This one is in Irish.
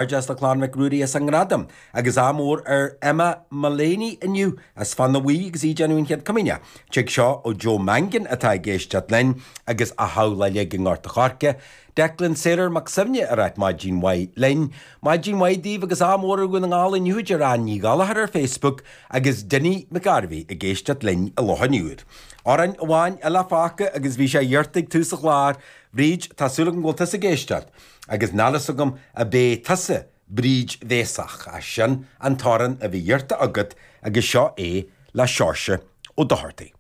Comhghairdeas le Clann Mhic Ruairí as an ngradam agus ádh mór ar Emma Mullaney inniu as Fána Bhuí agus í ag déanamh an Chéad Chomaoineach. Tig seo ó Joe Mangan atá ag éisteacht linn agus a theaghlach uilig i nGort a' Choirce. Declan Saorar Mac Suibhne ag ráit maidin mhaith linn. Maidin mhaith daoibh agus ádh mór ar Dhún na nGall inniu a deir Ann Ní Ghallchóir ar Facebook agus Dinny McGarvey ag éisteacht linn i Loch an Iúir. Amhrán amháin eile fágtha agus bhí sé iarrta ag tús an chláir, Bríd, tá súil agam go bhfuil tusa ag éisteacht. Agus níl fhios agam ab é tusa Bríd Bhéasach, ach sin an t-amhrán a bhí iarrta agat agus seo é le Seoirse Ó Dochartaigh.